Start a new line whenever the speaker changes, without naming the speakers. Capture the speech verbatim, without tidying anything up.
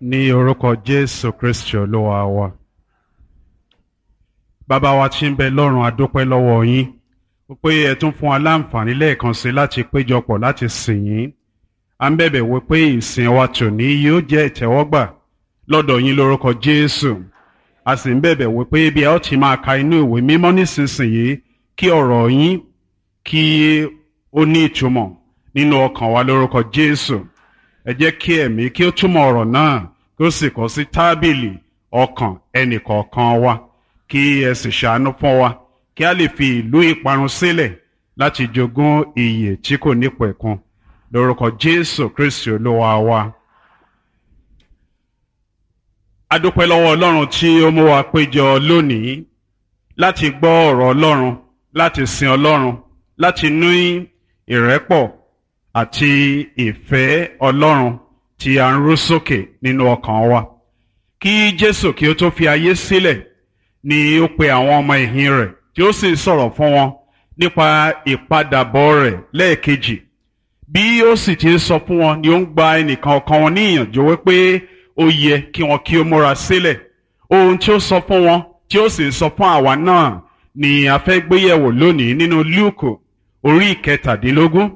Ní orúkọ Jésù Kristi Olúwa wa. Bàbá wa tí ń bẹ lọ́run, a dúpẹ́ lọ́wọ́ yín pé ẹ tún fún wa láǹfààní lẹ́ẹ̀kan sí láti péjọpọ̀ láti sìn yín. À ń bẹ̀bẹ̀ wí pé ìsìn wa tòní yóò jẹ́ ìtẹ́wọ́gbà lọ́dọ̀ yín lórúkọ Jésù. A sì ń bẹ̀bẹ̀ wí pé bí ẹ ó ti máa ka inú ìwé mímọ́ nísinsìnyí, kí ọ̀rọ̀ yín kí ó ní ìtumọ̀ nínú ọkàn wa lórúkọ Jésù. Ẹ jẹ́ kí ẹ̀mí kí ó túmọ̀ ọ̀rọ̀ náà, kí ó sì kọ sí tábìlì ọkàn ẹnìkọ̀ọ̀kan wa, kí ẹ sì ṣàánú fún wa kí a lè fi ìlú ìparun sílẹ̀ láti jogún ìyè tí kò nípẹ̀kun lórúkọ Jésù Kristi Olúwa wa. A dúpẹ́ lọ́wọ́ Ọlọ́run tí ó mú wa péjọ lónìí láti gbọ́ ọ̀rọ̀ Ọlọ́run, láti sin Ọlọ́run, láti ní ìrẹ́pọ̀ àti ìfẹ́ Ọlọ́run tí a ń rú sókè nínú ọkàn wa. Kí Jésù kí ó tó fi ayé sílẹ̀ ni ó pe àwọn ọmọ ẹ̀yìn rẹ̀, tí ó sì sọ̀rọ̀ fún wọn nípa ìpadàbọ̀ rẹ̀ lẹ́ẹ̀kejì. Bí ó sì ti ń sọ fún wọn ni ó ń gba ẹnìkan ọkàn wọn ní ìyànjú wípé ó yẹ kí wọn kí ó múra sílẹ̀. Ohun tí ó sọ fún wọn tí ó sì ń sọ fún àwa náà ni a fẹ́ gbéyẹ̀wò lónìí nínú Lúùkù orí ìkẹtàdínlógún.